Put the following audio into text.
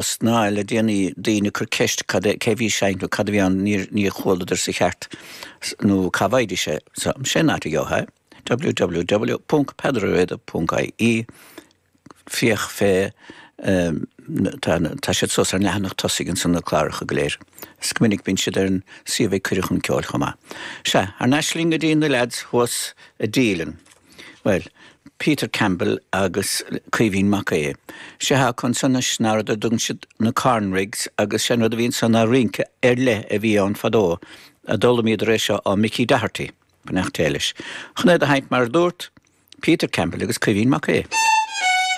Ná le déanaí daoine ag cur ceist cad é, cé bhí ag seinnt nó cad a bhí ann, níor, níor chualadar sa cheart nó cá bhfaighidís é. So, sé an áit a gheofá é, www.peadaroruada.ie, féach fé, tá, tá siad suas ar an leathanach tosaigh ansan na cláracha go léir. Is go minic bíonn siad ar an suíomh ag Cuireadh Chun Ceoil chomh maith. Sea, thar n-ais linn go dtí na leaids thuas i Dealin. Bhuel, Peter Campbell agus Caoimhín Mac Aodha. Sé atá acu ansan anois ná rud ar dtugann siad na Corn Rigs agus sé an rud a bhí ansan ná rince ar leith a bhí ann fadó a d'fhoghlaimíodar é seo ó Mickey Doherty, beannacht Dé leis. Chun é do sheinnt mar a dúrt, Peter Campbell agus Caoimhín Mac Aodha.